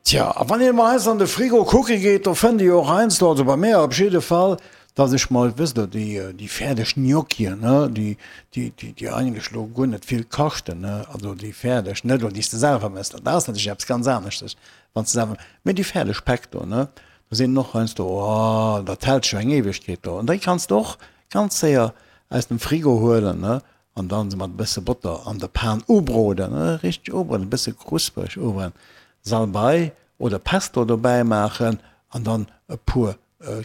Tja, a wann een emol heiansdo an de Frigo kucke geet, do fënnt ee jo och heiansdo, also bei mär op jidde Fall, dass ech mol, wësst Der, déi, déi fäerdeg Gnocchien, ne, déi, déi, déi, déi eigentlech elo guer net vill kaschten, ne, also déi fäerdeg, net elo déi s de selwer méchs, dat ass natierlech eppes ganz aneschtes, wann s de selwer, mee déi fäerdeg Päck do, ne, do sinn och heiansdo, oh, dat hält scho eng Ewegkeet do. An déi kanns de och ganz séier aus dem Frigo huelen, ne, An dann se mat e bësse Botter an der Pan ubroden, richteg ubroden, e bësse kruspereg ubroden, Salbei oder Pesto dobäi maachen an dann e puer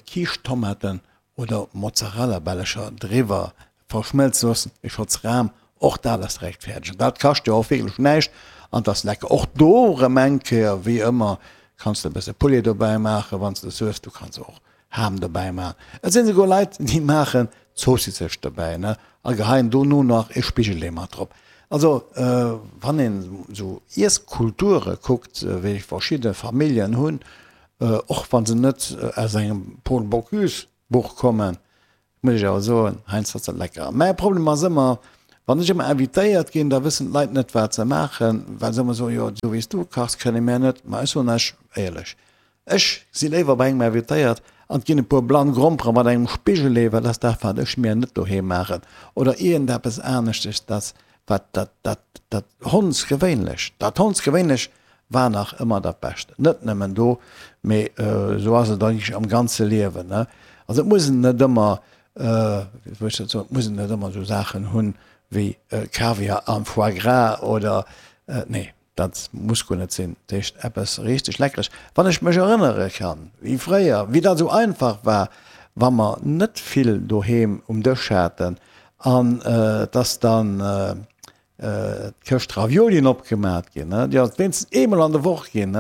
Kiischtomaten oder Mozzarellabällecher driwwer verschmëlze loossen, e Schotz Ram, och dat ass direkt fäerdeg. An dat kascht jo och wierklech näischt an 't ass lecker. Och do erëm eng Kéier, wéi ëmmer, kanns de e bësse Poulet dobäi maachen, wann s de es hues. Du kanns och Ham dobäi maachen. Et sinn esouguer Leit, déi maachen Zoossisech dobäi, ne, a geheien dono nach e Spigelee mat drop. Also, wann een esou Iesskulture kuckt, wéi verschidde Familljen hunn, och wa se net aus engem Paul Bocuse Buch kommen, muss ech awer soen, heiansdo ass dat lecker. Mäi Problem ass ëmmer, wann ech ëmmer invitéiert ginn, da wëssen d'Leit net, wat se maachen, well se ëmmer soen, jo, esou wéi s du kachs, kënne mär net. Ma ech soen lech éierlech, Ech si léiwer bei engem invitéiert an 't ginn e puer blann Grompere mat engem Spigelee, well dat ass dat, wat ech mir net doheem maachen, oder iergendeppes aneschtes, dat, wat, dat, dat, dat Hondsgewéinlech, dat Hondsgewéinlech war nach ëmmer dat Bescht. Net nëmmen do, mee esou ass et eigentlech am ganze Liewen, ne. Also et muss een net ëmmer, wéi soll ech dat soen, et muss een net ëmmer esou Saachen hunn wéi Kaviar an Foie gras oder, nee. Dat muss guer net sinn. Dat heescht eppes richteg Leckeres. Wann ech mech erënnere kann, wéi fréier, wéi dat esou einfach war, wa mer net vill doheem um Dësch haten an et ass dann d'Këscht Raviolien opgemat ginn, déi ass et wéinstens eemol an der Woch ginn,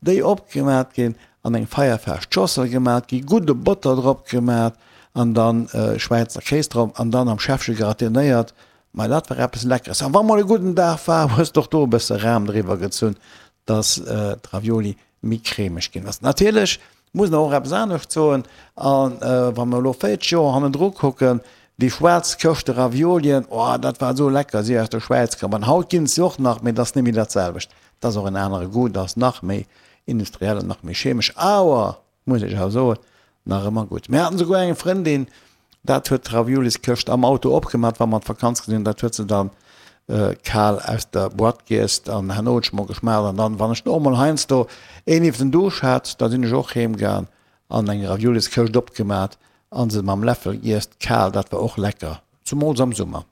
déi opgemat ginn, an eng feierfest Schossel gemat gi, gudde Botter drop gemat an dann Schwäizer Kéis drop an dann am Schäffche gratinéiert. Mei dat war eppes Leckeres. An wa mol e gudden Dag war, hues de och do e bësse Ram driwwer gezunn, dass d'Ravioli méi cremeg ginn ass. Natierlech muss een och eppes anescht soen, a wa mer elo 40 Joer hannendru kucken, déi schwaarz Këschte Raviolien, oh dat war esou lecker, si aus der Schwäiz komm. An haut ginn et se och nach, mee et ass net méi dat selwecht. Et ass och en anere Goût, et ass nach méi industriell an nach méi chemesch, awer Muss ech awer soen, nach ëmmer gutt. Mir haten souguer eng Frëndin, dat huet d'Ravioliskëscht am Auto opgemat, wa mer an d'Vakanz gesinn, dat huet se dann kal aus der Boîte giess an herno huet ech mol geschmaacht an dann, wann ech och mol heiansdo een iwwer den Duuscht hat, da sinn ech och heem gaang an eng Ravioliskëscht opgemat an se mam Läffel giess, kal, dat war och lecker, zumools am Summer.